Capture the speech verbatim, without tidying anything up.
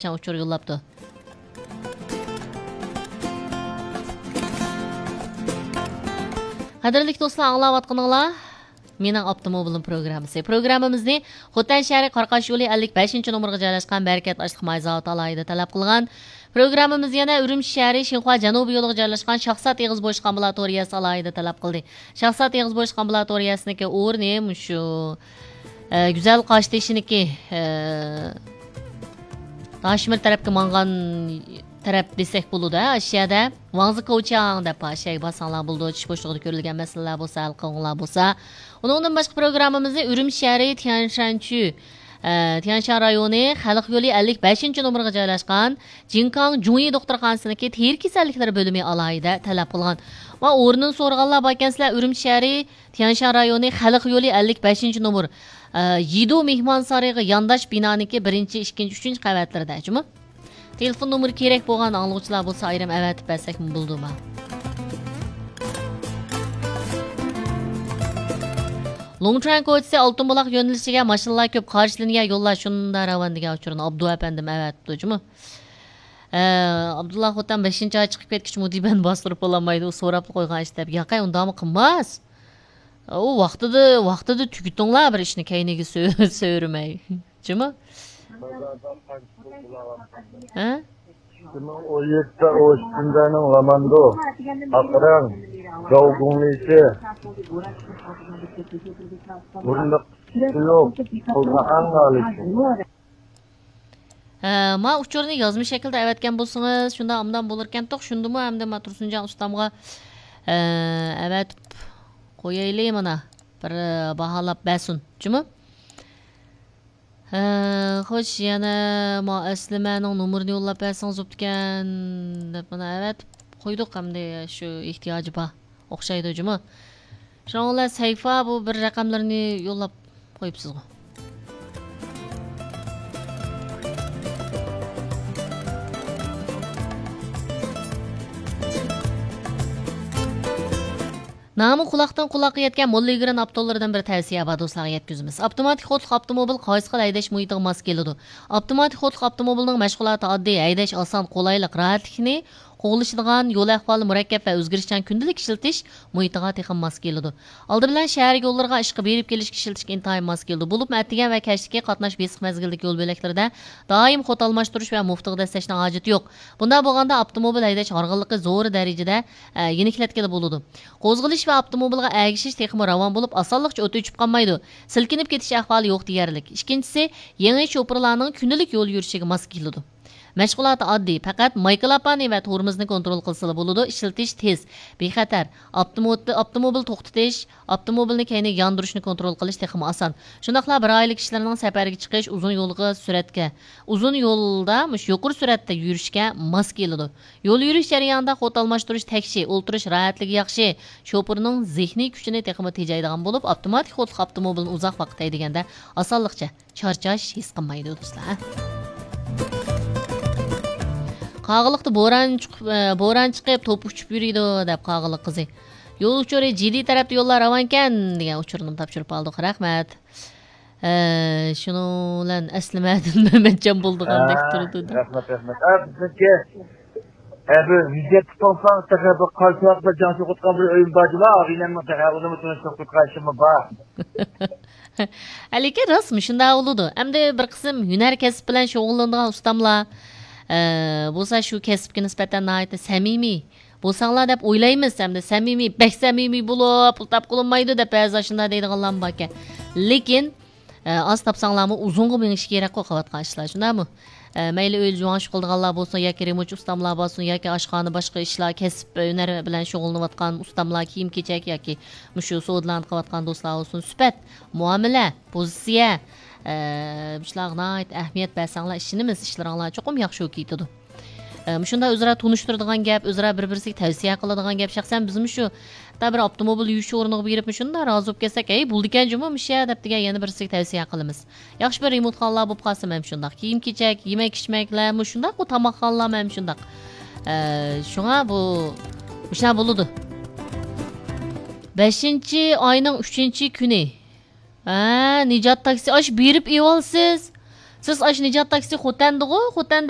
ئۇچۇر يوللاپتۇ. قەدىرلىك دوستلار، ئاڭلاۋاتقىنىڭلار مېنىڭ ئاپتوموبىلىم پروگراممىسى. پروگراممىمىزنى خوتەن شەھىرى قاراقاش يولى ئەللىك بەشىنچى نومۇرغا جايلاشقان بەرىكەت ئاشلىق ماي زاۋۇتى ئالاھىدە تەلەپ قىلغان. پروگراممىمىز يەنە ئۈرۈمچى شەھىرى شىنخۇا جەنۇبىي يولىغا جايلاشقان شاھزات ئېغىز بوشقان بۇلاتورىيەسى ئالاھىدە تەلەپ قىلدى. شاھزات ئېغىز بوشقان بۇلاتورىيەسىنىڭكى ئورنى مۇشۇ، ئە، گۈزەل قاشتېشىنىڭكى، ئە، داشمىر تەرەپكە ماڭغان تەرەپ دېسەك بولىدۇ، ھە، ئاشۇ يەردە ۋاڭزى كوچياڭ دەپ ئاشۇ يەرگە بارساڭلار بولىدۇ. چۈش بوشلۇقىدا كۆرۈلگەن مەسىلىلەر بولسا ھەل قىلغۇڭلار بولسا. ئۇنىڭدىن باشقا پروگراممىمىزنى ئۈرۈمچى شەھىرى تيەنشانچۈ، ئە، تيەنشان رايونى خەلق يولى ئەللىك بەشىنچى نومۇرغا جايلاشقان جىنكاڭ جۇڭيى دوختۇرخانىسىنىڭكى تېرە كېسەللىكلىرى بۆلۈمى ئالاھىدە تەلەپ قىلغان. ۋە ئورنىنى سورىغانلار باركەنسىلەر، ئۈرۈمچى شەھىرى تيەنشان رايونى خەلق يولى ئەللىك بەشىنچى نومۇر، ئە، يىدۇ مېھمانسارىيىغا يانداش بىنانىڭكى بىرىنچى، ئىككىنچى، ئۈچىنچى قەۋەتلىرىدە، جۇمۇ. تېلېفون نومۇرى كېرەك بولغان ئاڭلىغۇچىلار بولسا، ئايرىم ئەۋەتىپ بەرسەكمۇ بولىدۇ ما. لۇڭچۈەن كوچىسى ئالتۇن بۇلاق يۆنىلىشىگە ماشىنىلار كۆپ، قارشىلىنىگەن يوللار شۇنداق راۋان دېگەن ئۇچۇرنى ئابدۇ ئەپەندىم ئەۋەتىپتۇ، جۇمۇ. ئە، ئابدۇللا خوتەن بەشىنچى ئاي چىقىپ كەتكۈچە مۇدىبەننى باستۇرۇپ بولالمايدۇ، ئۇ سوراپلا قويغان ئىش دەپ. ياقەي، ئۇنداقمۇ قىلماس. ئۇ ۋاقتىدا، ۋاقتىدا تۈگىتىڭلار بىر ئىشنى، كەينىگە سۆ-، سۆرىمەي. جۇمۇ؟ ھە؟ ئىككى مىڭ ئون يەتتە ئوشۇنجانىڭ لاماندۇ، ئاقرەڭ، زاۋگۇڭلىشى، بۇرۇنداق يوق، قىلغان ئەڭ ئالىيسى. ھە، ما ئۇچۇرنى يازما شەكىلدە ئەۋەتكەن بولسىڭىز، شۇنداق ئوبدان بولۇركەنتۇق. شۇندىمۇ ئەمدى ما تۇرسۇنجان ئۇستامغا، ھە، ئەۋەتىپ قويايلى مانا. بىر، ھە، باھالاپ بەرسۇن. جۇمۇ؟ ھە، خوش، يەنە ما ئەسلىمەنىڭ نومۇرىنى يوللاپ بەرسىڭىز بوپتىكەن، دەپ مانا ئەۋەتىپ قويدۇق. ئەمدى شۇ ئېھتىياجى بار. ئوخشايدۇ جۇمۇ. شۇنىڭ بىلەن سەيفا بۇ بىر رەقەملىرىنى يوللاپ قويۇپسىزغۇ. نامى قۇلاقتىن قۇلاققا يەتكەن موللا ئىگىرىن ئاپتوللىرىدىن بىر تەۋسىيە بار، دوستلارغا يەتكۈزىمىز. ئاپتوماتىك خوتلۇق ئاپتوموبىل قايسى خىل ھەيدەش مۇھىتىغا ماس كېلىدۇ؟ ئاپتوماتىك خوتلۇق ئاپتوموبىلنىڭ مەشغۇلاتى ئاددىي، ھەيدەش ئاسان، قولايلىق، راھەتلىكنى قوغلىشىدىغان، يول ئەھۋالى مۇرەككەپ ۋە ئۆزگىرىشچان كۈندىلىك ئىشلىتىش مۇھىتىغا تېخىمۇ ماس كېلىدۇ. ئالدى بىلەن شەھەر يوللىرىغا ئىشقا بېرىپ كېلىشكە ئىشلىتىشكە ئىنتايىن ماس كېلىدۇ. بولۇپمۇ ئەتىگەن ۋە كەچلىكى قاتناش بېسىق مەزگىلدىكى يول بۆلەكلىرىدە دائىم خۇد ئالماشتۇرۇش ۋە مۇفتىغا دەسسەشنىڭ ھاجىتى يوق. بۇنداق بولغاندا ئاپتوموبىل ھەيدەش ھارغىنلىقى زور دەرىجىدە، ئە، يېنىكلەتكىلى بولىدۇ. قوزغىلىش ۋە ئاپتوموبىلغا ئەگىشىش تېخىمۇ راۋان بولۇپ، ئاسانلىقچە ئوت ئۆچۈپ قالمايدۇ. سىلكىنىپ كېتىش ئەھۋالى يوق دېيەرلىك. ئىككىنچىسى، يېڭى شوپۇرلارنىڭ كۈندىلىك يول يۈرۈشىگە ماس كېلىدۇ. مەشغۇلاتى ئاددىي، پەقەت مايكىلاپانى ۋە تورمۇزنى كونترول قىلسىلا بولىدۇ، ئىشلىتىش تېز، بىخەتەر، ئاپتوموت-، ئاپتوموبىل توختىتىش، ئاپتوموبىلنى كەينىگە ياندۇرۇشنى كونترول قىلىش تېخىمۇ ئاسان. شۇنداقلا بىر ئائىلە كىشىلىرىنىڭ سەپەرگە چىقىش، ئۇزۇن يولغا سۈرئەتكە، ئۇزۇن يولدا مۇشۇ يۇقىرى سۈرئەتتە يۈرۈشكە ماس كېلىدۇ. يول يۈرۈش جەريانىدا خۇد ئالماشتۇرۇش، تەكشى، ئولتۇرۇش راھەتلىكى ياخشى، شوپۇرنىڭ زېھنىي كۈچىنى تېخىمۇ تېجەيدىغان بولۇپ، ئاپتوماتىك خۇدلۇق ئاپتوموبىلنى ئۇزاق ۋاقىت ھەيدىگەندە ئاسانلىقچە چارچاش ھېس قىلمايدۇ، دوستلار. قاغىلىقتا بوران چىقىپ، ئە، بوران چىقىپ، توپا ئۇچۇپ يۈرىدۇ، دەپ قاغىلىق قىزى. يول ئۇچۇرى جىددىي تەرەپتە يوللار راۋانكەن، دېگەن ئۇچۇرنىمۇ تاپشۇرۇپ ئالدۇق. رەھمەت. ئە، شۇنىڭ بىلەن ئەسلىمەدىن مەمەتجان بولىدىغاندەك ھە، تۇرىدۇ. رەھمەت، رەھمەت. ھە، بىزنىڭكى، ھە، بىر ۋىزىت تۇتۇڭساڭ، تېخى بىر قايسى ۋاقىتتا جاڭ سوقۇتقان بىر ئۆيۈم بار جۇما، ئاغىنەمنىڭ تېخى ئۇنىمۇ تۇرۇش سوقۇتقان ئىشىممۇ بار. ھە، لېكىن راست مۇشۇنداق بولىدۇ. ئەمدى بىر قىسىم ھۈنەر كەسىپ بىلەن شۇغۇللىنىدىغان ئۇستاملار، ئە، بولسا شۇ كەسىپكە نىسبەتەن ناھايىتى سەمىمىي بولساڭلار دەپ ئويلايمىز. ئەمدى سەمىمىي، بەك سەمىمىي بولۇپ، پۇل تاپقىلى بولمايدۇ دەپ بەزىلەر شۇنداق دەيدىغانلارمۇ باركەن. لېكىن، ئە، ئاز تاپساڭلارمۇ ئۇزۇنغا مېڭىشى كېرەكقۇ قىلىۋاتقان ئىشلار، شۇنداقمۇ؟ ئە، مەيلى ئۆيدە جۇۋاڭشۇ قىلىدىغانلار بولسۇن ياكى رېمونتچى ئۇستاملار بولسۇن ياكى ئاشخانا باشقا ئىشلار، كەسىپ، ھۈنەر بىلەن شۇغۇللىنىۋاتقان ئۇستاملار، كىيىم-كېچەك ياكى مۇشۇ سودىلارنى قىلىۋاتقان دوستلار بولسۇن، سۈپەت، مۇئامىلە، پوزىتسىيە، ئە، مۇشۇلارغا ناھايىتى ئەھمىيەت بەرسەڭلار ئىشىنىمىز، ئىشلىرىڭلار چوقۇم ياخشى بولۇپ كېتىدۇ. ئە، مۇشۇنداق ئۆزئارا تونۇشتۇرىدىغان گەپ، ئۆزئارا بىر-بىرسىگە تەۋسىيە قىلىدىغان گەپ. شەخسەن بىزمۇ شۇ، ھەتتا بىر ئاپتوموبىل يۇيۇش ئورنىغا بېرىپ مۇشۇنداق رازى بولۇپ كەتسەك، ھەي، بولىدىكەن جۇمۇ مۇشۇ يەر دەپ دېگەن يەنە بىرسىگە تەۋسىيە قىلىمىز. ياخشى بىر رېمونتخانىلار بولۇپ قالسا مەن شۇنداق. كىيىم-كېچەك، يېمەك-ئىچمەكلەر مۇشۇنداقمۇ، تاماقخانىلار مەن شۇنداق. ئە، شۇڭا بۇ، مۇشۇنداق بولىدۇ. بەشىنچى ئاينىڭ ئۈچىنچى كۈنى. ھە، نىجات تاكسى، ئاش بېرىپ ئېۋالسىز. سىز ئاشۇ نىجات تاكسى خوتەندىغۇ؟ خوتەندە